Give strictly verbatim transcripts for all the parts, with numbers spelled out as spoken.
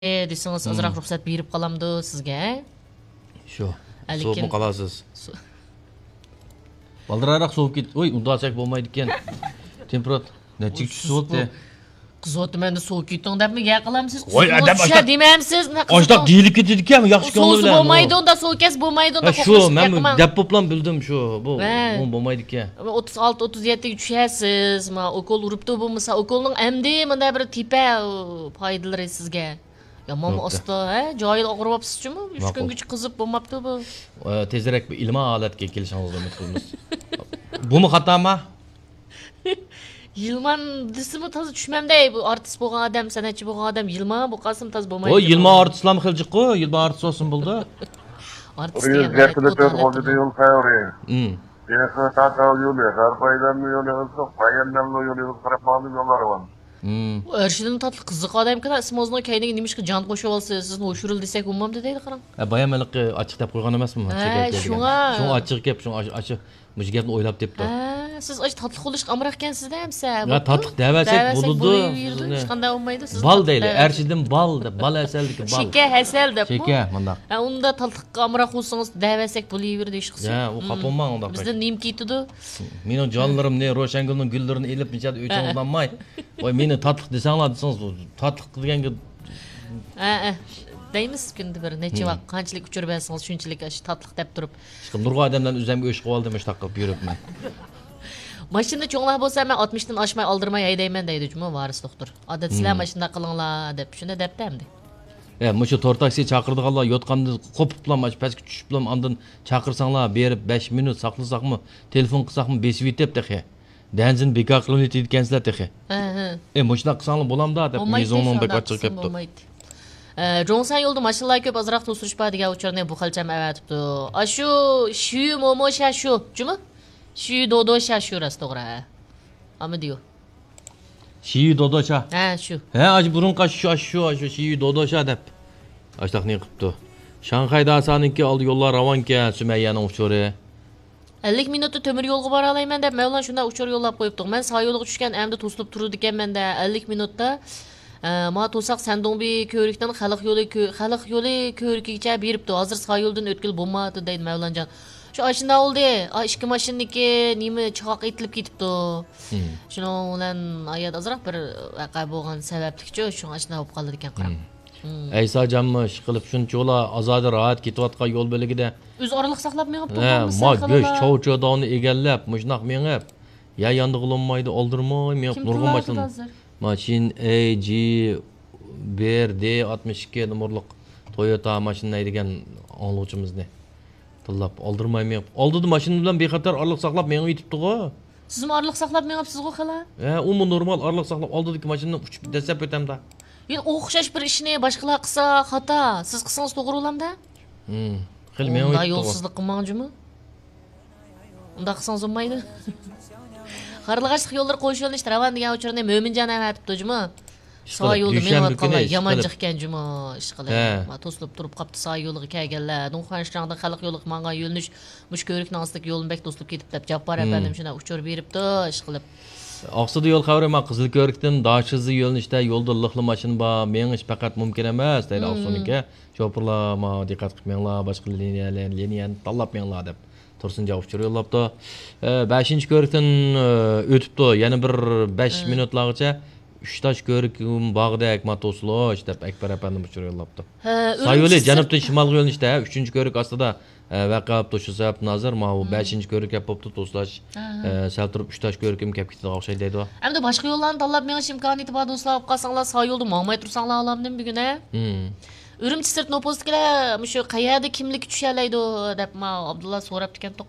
دېسىڭىز، ئازراق رۇخسەت بېرىپ قالامدۇ سىزگە؟ شۇ. ھەلىكىن. سوۋۇپمۇ قالارسىز؟ سو-، بالدۇرراق سوۋۇپ كېتىپ، ئۇي، ئۇنداق چەك بولمايدىكەن. تېمپېراتۇرا نەچچىگە چۈشسە بولدى؟ قىزىۋاتىمەن دە، سوۋۇپ كېتىڭ دەپمۇ گەپ قىلامسىز؟ ۋاي، ئادەم چۈشە دېمەمسىز؟ ئاشۇنداق دېيىلىپ كېتىدىكەن، ياخشى كۆڭۈل بىلەن. سوۋۇسا بولمايدۇ ئۇندا، سوۋۇپ كەتسە بولمايدۇ ئۇندا، قورقۇنچلۇق گەپ قىلماڭ. دەپ بوپلا بىلدىم شۇ، بۇ، بۇ بولمايدىكەن. ئوتتۇز ئالتە، ئوتتۇز يەتتىگە چۈشەسىز، ما ئوكۇل ئۇرۇپتۇ بولمىسا، ئوكۇلنىڭ ئەمدى مۇنداق بىر تېپە پايدىلىرى سىزگە. يامان ئاستا، ھە؟ جاھىل ئاغرىۋاپسىز جۇمۇ. ئۈچ كۈنگىچە قىزىپ بولماپتۇ بۇ. ئە، تېزرەك بىر ئىلمىي ھالەتكە كېلىشىڭىزنى ئۈمىد قىلىمىز. بۇمۇ خاتامۇ؟ يىلمان دېسىمۇ تازا چۈشمەمدەي. بۇ ئارتىس بولغان ئادەم، سەنئەتچى بولغان ئادەم يىلمان بولۇپ قالسىمۇ تازا بولمايدۇ. ئۇ يىلمان ئارتىسلارمۇ خىلى جىققۇ، يىلمان ئارتىس بولسىمۇ بولىدۇ. ئارتىس دېگەن ھەقىقەتەن يول خەۋىرى. يېڭى تارتاۋ يولى، غەرب ئايلانما يولى، ئىزلىق بايەننەللۇ يولى، ئىزلىق قاراپ ماڭدىم يوللار بار. ئۇ ئەرشىدىن تاتلىق قىزىق ئادەمكەن، ئىسمىڭىزنىڭ كەينىگە نېمىشقا جان قوشۇۋالسىز؟ سىزنى ھوشۇرۇل دېسەك بولمامدۇ دەيدۇ، قاراڭ. ھە، بايام ھېلىقى ئاچچىق دەپ قويغان ئەمەسمۇ؟ ھە، شۇڭا. شۇڭا ئاچچىق گەپ، شۇڭا ئاشۇ، ئاشۇ، مۇشۇ گەپنى ئويلاپ تېپىپتۇ. ھە، سىز ئاشۇ تاتلىق بولۇشقا ئامراقكەن سىزدە ئەمسە. ھە، تاتلىق دەۋەرسەك بولىدۇ. ھېچقانداق بولمايدۇ. سىز بال دەيلى، ئەرشىدىن بال دەپ، بال ھەسەل دېگەن بال. شېكەر، ھەسەل دەپ. شېكەر، مۇنداق. ھە، ئۇندا تاتلىققا ئامراق بولسىڭىز دەۋەرسەك بولۇۋېرىدۇ، ھېچقىسى. ھە، ئۇ خاپا بولماڭ ئۇنداق. بىزدىن نېمە كېتىدۇ؟ مېنىڭ جانلىرىمنى، روشەنگۈلنىڭ گۈللىرىنى ئېلىپ، مىجاد ئۆچىڭىزنى ئالماي. ۋاي، مېنى تاتلىق دېسەڭلار دېسىڭىز، تاتلىق دېگەنگە. ھە، ھە. دەيمىز كۈندە بىر نەچچە ۋاق، قانچىلىك ئۇچۇر بەرسىڭىز، شۇنچىلىك ئاشۇ تاتلىق دەپ تۇرۇپ. ئىشقىلىپ، نۇرغۇن ئادەملەرنى ئۆزۈمگە ئۆچ قىلىۋالدىم، مۇشۇنداق قىلىپ يۈرۈپمەن. ماشىنىدا چوڭلار بولسا، مەن ئاتمىشتىن ئاشماي ئالدىرىماي ھەيدەيمەن دەيدۇ جۇمۇ ۋارىس دوختۇر. ئادەتتە سىلەر ماشىنىدا قىلىڭلار دەپ، شۇنداق دەپتۇ ئەمدى. ئە، مۇشۇ تور تاكسى چاقىرىدىغانلار يوتقاندىن قوپۇپلا، مانا پەسكە چۈشۈپلا، ئاندىن چاقىرساڭلار، بېرىپ بەش مىنۇت ساقلىساقمۇ، تېلېفون قىلساقمۇ، بېسىۋېتىپ تېخى. دەنزىن بىكار قىلىۋېتىدىكەنسىلەر تېخى. ھە، ھە. ئە، مۇشۇنداق قىلساڭلار بولامدا دەپ، مىزۇڭنىڭ بەك ئاچچىقى كەپتۇ. ئە، جوڭسەن يولدا ماشىنىلار كۆپ، ئازراق توسۇلۇش بار دېگەن ئۇچۇرنى بۇ خەلچەم ئەۋەتىپتۇ. ئاشۇ شۈ مومو شا شۇ، جۇمۇ؟ شۈ دودو شا شۇ راست توغرا، ھە. ئامىدىيو. شىيۈ دودوشا. ھە، شۇ. ھە، ئاشۇ بۇرۇنقى ئاشۇ، شۇ، ئاشۇ، شۇ، ئاشۇ شىيۈ دودوشا دەپ. ئاشتاقنى قىپتۇ. شاڭخەي داسانىڭكى ئالدى يوللار راۋانكەن، سۈمەييەنىڭ ئۇچۇرى. ئەللىك مىنۇتتا تۆمۈر يولغا بارالايمەن دەپ، مەۋلان شۇنداق ئۇچۇر يوللاپ قويۇپتۇق. مەن سا يولغا چۈشكەن، ئەمدى توسۇلۇپ تۇرىدىكەنمەن دە، ئەللىك مىنۇتتا. ئە، ما توساق سەندۇڭبى كۆۋرۈكتىن خەلق يولى كۆ-، خەلق يولى كۆۋرۈكىگىچە بېرىپتۇ. ھازىر سا يولدىن ئۆتكىلى بولمايدۇ دەيدۇ مەۋلانجان. شۇ ئاشۇنداق بولدى. ئا، ئىككى ماشىنىدىكى نېمە چاقاق ئېتىلىپ كېتىپتۇ. شۇنىڭ بىلەن ھايات ئازراق بىر ۋەقە بولغان سەۋەبلىكچۇ، شۇڭا ئاشۇنداق بولۇپ قالىدىكەن قاراڭ. ئەيساجانمۇ ئىشقىلىپ شۇنچىۋالا ئازادە راھەت كېتىۋاتقان يول بۆلىكىدە. ئۆزى ئارىلىق ساقلاپ مېڭىپتۇ، ھە، بولمىسا ما گۆش خېلىلا. چاۋچاۋداۋنى ئېگەرلەپ، مۇشۇنداق مېڭىپ، يا ياندىغىلى بولمايدۇ، ئالدىرىماي مېڭىپ، كىم نۇرغۇن تىللاۋاتىدۇ ماشىنا. ھازىر؟ ماشىنا ئەي جى بىر دى ئاتمىش ئىككى نومۇرلۇق تويوتا ماشىنا ھەيدىگەن ئاڭلىغۇچىمىزنى تىللاپ، ئالدىرىماي مېڭىپ، ئالدىدا ماشىنا بىلەن بىخەتەر ئارىلىق ساقلاپ مېڭىۋېتىپتىغۇ. سىزمۇ ئارىلىق ساقلاپ مېڭىپسىزغۇ خېلى؟ ھە، ئۇمۇ نورمال ئارىلىق ساقلاپ، ئالدىدىكى ماشىنىدىن ئۇچۇپ دەسسەپ ئۆتەمدۇ. يەنە ئوخشاش بىر ئىشنى باشقىلار قىلسا خاتا، سىز قىلسىڭىز توغرا بولامدا؟ ھىم، خېلى مېڭىۋېتىپتىغۇ. يولسىزلىق قىلماڭ جۇمۇ. ئۇنداق قىلسىڭىز بولمايدۇ. قارلىغاچلىق يوللىرى قوش يۆنىلىشتە راۋان دېگەن ئۇچۇرنى مۆمىنجان ئەۋەتىپتۇ جۇمۇ. سا يولدا مېڭىۋاتقانلار يامانجىقكەن جۇمۇ، ئىشقىلىپ. ھە. ما توسۇلۇپ تۇرۇپ قاپتۇ سا يولىغا كەلگەنلەر. دۇڭخۇەنشىراڭدىن خەلق يولىغا ماڭغان يۆنىلىش مۇشۇ كۆۋرۈكنىڭ ئاستىدىكى يولنى بەك توسۇلۇپ كېتىپتۇ دەپ، جاپپار ئەپەندىم شۇنداق ئۇچۇر بېرىپتۇ، ئىشقىلىپ. ئاقسۇدا يول خەۋىرى، ما قىزىل كۆۋرۈكتىن داشىزى يۆنىلىشتە يولدا لىقلا ماشىنا بار، مېڭىش پەقەت مۇمكىن ئەمەس، دەيدۇ ئاقسۇنىڭكى. شوپۇرلار، ما دىققەت قىلىپ مېڭىڭلار، باشقا لىنىيەلەر، لىنىيەنى تاللاپ مېڭىڭلار دەپ. تۇرسۇنجان ئۇچۇر يوللاپتۇ. ئە، بەشىنچى كۆۋرۈكتىن، ئە، ئۆتۈپتۇ. يەنە بىر بەش مىنۇتلارغىچە ئۈچ تاش كۆۋرۈك بارغۇدەك، ما توسۇلۇش دەپ ئەكبەر ئەپەندىم ئۇچۇر يوللاپتۇ. ھە، سا يولى جەنۇبتىن شىمالغا يۆنىلىشتە ئۈچىنچى كۆۋرۈك ئاستىدا، ئە، ۋەقە بوپتۇ. شۇ سەۋەبتىن ھازىر ماۋۇ بەشىنچى كۆۋرۈك گەپ بوپتۇ، توسۇلۇش. ئە، سەل تۇرۇپ ئۈچ تاش كۆۋرۈككە كەپ كېتىدىغان ئوخشايدۇ دەيدۇ. ئەمدى باشقا يوللارنى تاللاپ مېڭىش ئىمكانىيىتى بار دوستلار، ئاپ قالساڭلار سا يولدا ماڭماي تۇرساڭلار ئالامدىم بۈگۈن، ھە؟ ئۈرۈمچى سىرت نوپۇستىكىلەر مۇشۇ قەيەردە كىملىككە چۈشەلەيدۇ دەپ ما ئابدۇللا سوراپتىكەنتۇق.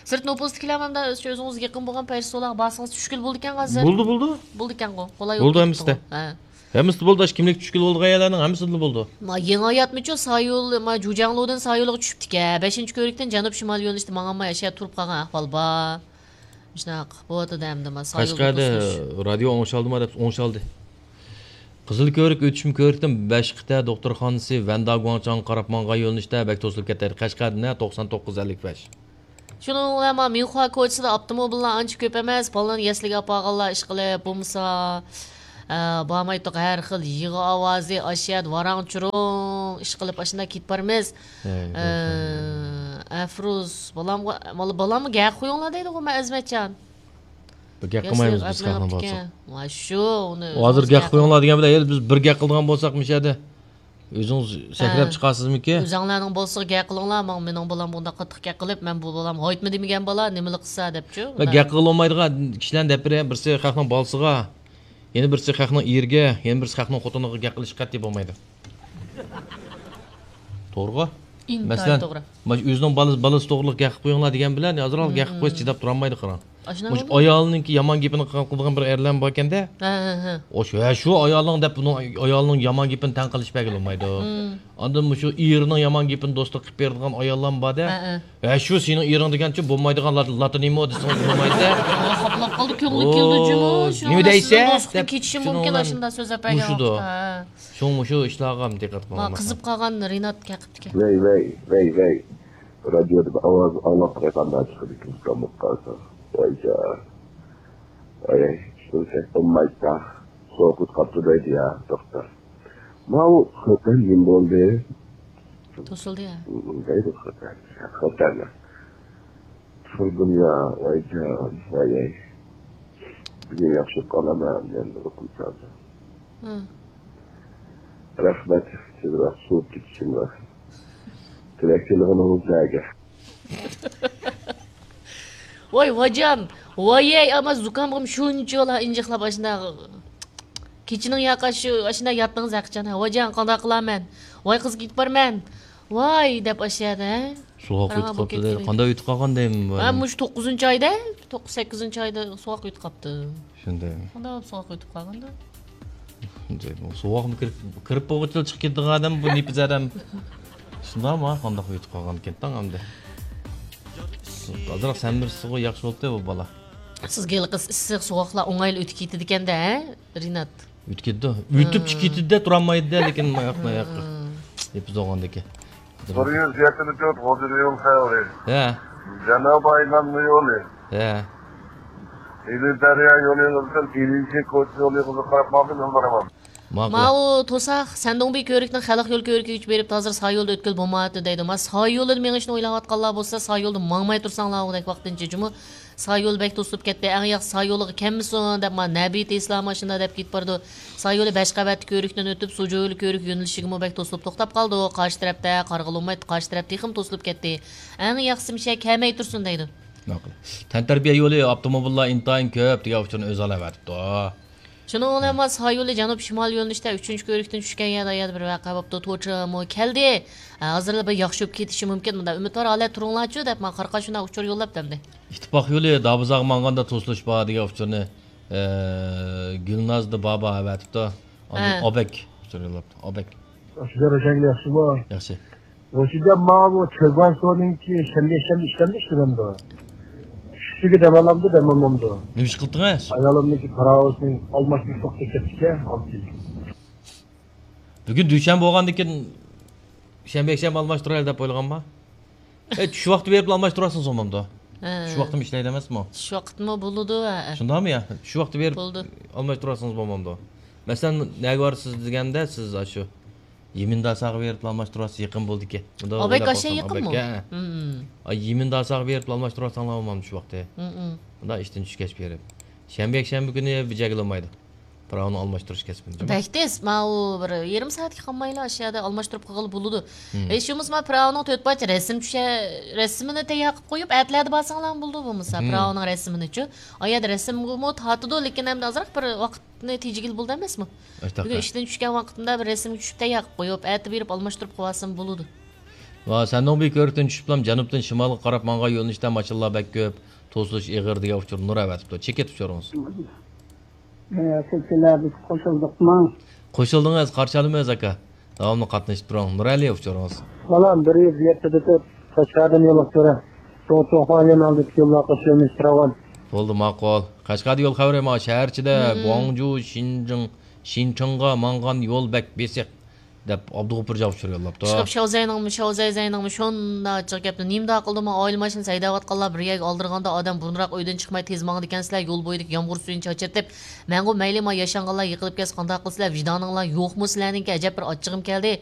سىرت نوپۇستىكىلەر مانا ئۆزىڭىز يېقىن بولغان پەيسۇللارغا بارسىڭىز چۈشكىلى بولىدىكەن ھازىر. بولدى، بولدى. بولىدىكەنغۇ. قولاي بولدى ھەممىسىدە. ھە. ھەممىسىدە بولدى، ئاشۇ كىملىك چۈشكىلى بولىدىغان يەرلەرنىڭ ھەممىسىدە بولدى. ما يېڭى ھاياتمىچۇ سا يول، ما جۇجياڭلۇدىن سا يولىغا چۈشۈپتىكەن. بەشىنچى كۆۋرۈكتىن جەنۇب شىمال يۆنىلىشتە ماڭالماي ئاشۇ يەردە تۇرۇپ قالغان ئەھۋال بار. شۇنداق بولۇۋاتىدۇ ئەمدى ما سا يولدا توسۇلۇش. قەشقەردە رادىيو ئوڭشالدىما دەپ ئوڭشالدى. قىزىل كۆۋرۈك ئۆتۈشمە كۆۋرۈكتىن بەش قىتە دوختۇرخانىسى ۋەندا گۇاڭچاڭغا قاراپ ماڭغان يۆنىلىشتە بەك توسۇلۇپ كەتتى. قەشقەردىن توقسان توققۇز ئەللىك بەش. شۇنىڭ بىلەن ما مىنخۇا كوچىسىدا ئاپتوموبىللار ئانچە كۆپ ئەمەس، بالىلارنى يەسلىگە ئاپارغانلار ئىشقىلىپ بولمىسا، ئە، بارمايتتۇق، ھەر خىل يىغا ئاۋازى، ئاشۇ يەردە ۋاراڭ-چۇرۇڭ ئىش قىلىپ، ئاشۇنداق كېتىپ بارىمىز. ھەي، ئە، ئەفرۇز، بالامغا، بالامغا گەپ قويۇڭلار دەيدىغۇ مەن، ئەزمەتجان. بىر گەپ قىلمايمىز بىز خەقنىڭ بۇ بولسا. ۋاي شۇ، ئۇنى ھازىر گەپ قويۇڭلار دېگەن بىلەن، ھېلى بىز بىر گەپ قىلىدىغان بولساق، مۇشۇ يەردە ئۆزىڭىز سەكرەپ چىقارسىزمىكى؟ ئۆزۈڭلارنىڭ بولسا گەپ قىلىڭلار، ماڭا مېنىڭ بالام بۇنداق قاتتىق گەپ قىلىپ، مەن بۇ بالام ھايتما دېمىگەن بالا، نېمىلا قىلسا دەپچۇ. مەن گەپ قىلالمايدىغان كىشىلەرنى دەپ بېرەي، بىرسى خەقنىڭ بالىسىغا، يەنە بىرسى خەقنىڭ ئېرىگە، يەنە بىرسى خەقنىڭ خوتۇنىغا گەپ قىلىشقا قەتئىي بولمايدۇ. توغرىغۇ؟ ئىنتايىن مەسىلەن، توغرا. مانا شۇ ئۆزىنىڭ بالىسى، بالىسى توغرىلىق گەپ قىلىپ قويۇڭلار دېگەن بىلەن، ئازراق گەپ قىلىپ قويسا چىداپ تۇرالمايدۇ قاراڭ. ئاشۇنداق مۇشۇ بولدى. ئايالىنىڭكى يامان گېپىنى قىلغان بىر ئەرلەرمۇ باركەندە. ھە، ھە، ھە. ئوش، ھە، شۇ ئايالىنىڭ دەپ بۇنىڭ ئايالىنىڭ يامان گېپىنى تەنقىدلىشىپ بەرگىلى بولمايدۇ. ئاندىن مۇشۇ ئېرىنىڭ يامان گېپىنى دوستلۇق قىلىپ بېرىدىغان ئاياللارمۇ بار-دە. ھە، ھە. ھە، شۇ سېنىڭ ئېرىڭ دېگەنچە بولمايدىغان لات-، لاتىنىمۇ دېسىڭىز بولمايدۇ-دە. ئۇ خاپىلاپ قالدى، كۆڭلى كېلىدۇ جۇمۇ. شۇ نېمە دەيسە دەپ كېتىشى مۇمكىن، شۇنىڭ بىلەن ئاشۇنداق سۆزلەپ بەرگەن مۇشۇدۇر. ۋاقىتتا. ھە. شۇڭا مۇشۇ ئىشلارغا دىققەت قىلماق. قىزىپ قالغان رىنات كەقىپتىكەن. ۋەي، ۋەي، ۋەي، ۋەي. رادىيودا بىر ئاۋاز ئاڭلاپ قايتقاندا چىقىدىكەن، ئۇكام بولۇپ قالسا. ۋايجان. ۋاي، ئىشلىسەك بولمايدىكەن. سوغۇق قاپتۇ دەيدۇ يا، توختا. ماۋۇ خوتەن نېمە بولدى؟ توسۇلدى يا. دەيدۇ خوتەن. خوتەن. تۇردۇم يا، ۋايجان، ۋاي. بۈگۈن ياخشى قالىمەن، مەن ئۇخلىسام. ھە. رەھمەت، تېزرەك سوۋۇپ كېتىشىمغا. تىلەك تىلىغىنىڭىزلەرگە. ۋاي، ۋاجان، ۋايەي، ئەمما زۇكامغىمۇ شۇنچىۋالا ئىنجىقلاپ ئاشۇنداق. كېچىنىڭ ياقى شۇ، ئاشۇنداق ياتتىڭىز ھەقىچان. ھە، ۋاجان، قانداق قىلارمەن؟ ۋاي، قىزىپ كېتىپارمەن. ۋاي، دەپ ئاشۇ يەردە، ھە؟ سوغۇق قاراڭ، ئۆتۈپ بۇ قاپتۇ دەيدۇ. كەتكىلى. قانداق ئۆتۈپ قالغان دەيمەن بۇ ھە، ئادەم؟ مۇشۇ توققۇزىنچى ئايدا، توققۇز، سەككىزىنچى ئايدا سوغۇق ئۆتۈپ قاپتۇ. شۇنداق. قانداق بولۇپ سوغۇق ئۆتۈپ قالغاندۇ؟ شۇنداق. سوغۇقمۇ كىرىپ، كىرىپ بولغۇچىلا چىقىپ كېتىدىغان ئادەم بۇ نېپىز ئادەم. شۇنداقمۇ؟ قانداق ئۆتۈپ قالغان ئىكەن تاڭ ئەمدى. ئازراق سەمرىسىغۇ ياخشى بولۇپتۇ بۇ بالا. سىزگە ھېلىقى ئىسسىق سوغۇقلار ئوڭايلا ئۆتۈپ كېتىدىكەن-دە، ھە؟ رىنات. ئۆتۈپ كېتىدۇ. ئۆتۈپ ھە. كېتىدۇ-دە، تۇرالمايدۇ-دە، لېكىن ماياق، ماياق. ھە. نېپىز بولغاندىكىن. بىر يۈز يەتتە تۆت غوجىدىيۇل خەۋىرى. ھە. جەنۇبىي ئايلانما يولى. ھە. ئىلى دەريا يولى بىلەن ئىلىنچى كوچا يولىغا قاراپ ماڭدىم، يول بارىمەن. ماقۇل. ماۋۇ توساق، سەندۇڭبى كۆۋرۈكنىڭ خەلق يول كۆۋرۈكىگە كۆچۈپ بېرىپ، ھازىر سا يولدا ئۆتكىلى بولمايۋاتىدۇ دەيدۇ. ما سا يولىدا مېڭىشنى ئويلاۋاتقانلار بولسا، سا يولدا ماڭماي تۇرساڭلار ئۇدەك ۋاقتىنچە جۇمۇ. سا يول بەك توسۇلۇپ كەتتى، ئەڭ ياخشى سا يولىغا كەلمىسۇن دەپ، ما نەبى تېسلا ماشىنا دەپ كېتىپ بارىدۇ. سا يولى بەش قەۋەتلىك كۆۋرۈكتىن ئۆتۈپ، سۇجۇۋېلى كۆۋرۈك يۆنىلىشىگىمۇ بەك توسۇلۇپ توختاپ قالدى. قارشى تەرەپتە قارىغىلى بولمايتتى، قارشى تەرەپ تېخىمۇ توسۇلۇپ كەتتى. ئەڭ ياخشىسى مۇشۇ كەلمەي تۇرسۇن دەيدۇ. ماقۇل. تەنتەربىيە يولى ئاپتوموبىللار ئىنتايىن كۆپ دېگەن ئۇچۇرنى ئۆزى ئالاۋەتىپتۇ. شۇنىڭ بىلەن ما سا يولى جەنۇب شىمال يۆنىلىشتە ئۈچىنچى كۆۋرۈكتىن چۈشكەن يەردە، يەنە بىر ۋەقە بوپتۇ. توچىمۇ كەلدى. ھە، ھازىرلا بىر ياخشى بولۇپ كېتىشى مۇمكىن. مۇنداق ئۈمىدۋار ھالەتتە تۇرۇڭلارچۇ دەپ، ما قارقاش شۇنداق ئۇچۇر يوللاپتۇ ئەمدى. ئىتتىپاق يولى دابىزاغا ماڭغاندا توسۇلۇش بار دېگەن ئۇچۇرنى، ئە، گۈلنازدا بابا ئەۋەتىپتۇ. ئاندىن ھە. ئابەك ئۇچۇر يوللاپتۇ. ئابەك. ياخشى، ياخشىمۇ؟ ياخشى. روشىجان، ماڭا بۇ تۆگەن سۇنىڭكى شەنبە، يەكشەنبە ئىشلەمدە ئىشلىنەمدۇ؟ چۈشلۈكى دەم ئالامدۇ، دەم ئالمامدۇ؟ نېمە ئىش قىلدىڭىز؟ ئايالىمنىڭكى پاراۋىسىنىڭ ئالماشتۇرۇش ۋاقتى كەپتىكەن، ئالتە يىل. بۈگۈن دۈشەنبە بولغاندىكىن شەنبە، يەكشەنبە ئالماشتۇرايلى دەپ ئويلىغانما؟ ئەي، چۈش ۋاقتى بېرىپلا ئالماشتۇرۇۋالسىڭىز بولمامدۇ؟ ھە. چۈش ۋاقتىمۇ ئىشلەيدۇ ئەمەسمۇ؟ چۈش ۋاقىتمۇ بولىدۇ، ھە. شۇنداقمۇ يا؟ چۈش ۋاقتى بېرىپ بولىدۇ. ئالماشتۇرۇۋالسىڭىز بولمامدۇ؟ مەسىلەن، نەگە بارىسىز دېگەندە، سىز ئاشۇ يېمىنداساغا بېرىپلا ئالماشتۇرۇۋالسا يېقىن بولىدىكەن. ئابەك ئاشۇ يېقىنمۇ؟ ئابەك، ھە. ئاي، يېمىنداساغا بېرىپلا ئالماشتۇرۇۋالساڭلار بولمامدۇ شۇ ۋاقتى؟ مۇنداق ئىشتىن چۈشكەچ بېرىپ. شەنبە، يەكشەنبە كۈنى بېجەرگىلى بولمايدۇ. پىراۋىنى ئالماشتۇرۇش كەسپىنى. بەك تېز. ماۋۇ بىر يېرىم سائەتكە قالمايلا ئاشۇ يەردە ئالماشتۇرۇپ قىلغىلى بولىدۇ. ھېچ بولمىسا ما پىراۋىنىڭ تۆت پارچە رەسىم چۈشە، رەسىمىنى تەييار قىلىپ قويۇپ، ئەتىلەردە بارساڭلارمۇ بولىدۇ بولمىسا. پىراۋىنىڭ رەسىمىنىچۇ. ئا يەردە رەسىمگىمۇ تارتىدۇ، لېكىن ئەمدى ئازراق بىر ۋاقىتنى تېجىگىلى بولىدۇ ئەمەسمۇ؟ بۈگۈن ئىشتىن چۈشكەن ۋاقتىمدا بىر رەسىمگە چۈشۈپ تەييار قىلىپ قويۇپ، ئەتە بېرىپ ئالماشتۇرۇپ قىلىۋالسام بولىدۇ. ۋا، سەندۇڭبى كۆۋرۈكتىن چۈشۈپلام جەنۇبتىن شىمالغا قاراپ ماڭغان يۆنىلىشتە ماشىنىلار بەك كۆپ، توسۇلۇش ئېغىر دېگەن ئۇچۇر نۇر ئەۋەتىپتۇ. چېكىت ئۇچۇرىڭىز. ئە، سىلچىلەر، بىز قوشۇلدۇقمۇ؟ قوشۇلدىڭىز، قارشى ئالىمىز، ئاكا. داۋاملىق قاتنىشىپ تۇرۇڭ. نۇرئەلى ئۇچۇرىڭىز. بالام، بىر يۈز يەتتىدە تۆت، قەشقەردىن يولۇق كۆرە. توغرا، توغرا، يەنە ئالدى يوللارغا قوشۇلمىش پىراۋان. بولدى، ماقۇل. قەشقەردە يول خەۋىرى، ما شەھەر ئىچىدە گۇاڭجۇ، شىنجىڭ، شىنچىڭغا ماڭغان يول بەك بېسىق. دەپ ئابدۇغوپۇر جان ئۇچۇر يوللاپتۇ. چىقىپ شاۋزەينىڭمۇ، شاۋزەيزەينىڭمۇ شۇنداق ئاچچىق گەپنى. نېمىنداق قىلدىمۇ، ئائىلە ماشىنىسى ھەيدەۋاتقانلار بىر يەرگە ئالدىرىغاندا ئادەم بۇرۇنراق ئۆيدىن چىقماي تېز ماڭىدىكەنسىلەر، يول بويىدىكى يامغۇر سۈيىنى چاچرىتىپ، مەنغۇ مەيلى ما ياشانغانلار يىقىلىپ كەتسە قانداق قىلىسىلەر، ۋىجدانىڭلار يوقمۇ سىلەرنىڭكى؟ ئەجەب بىر ئاچچىقىم كەلدى.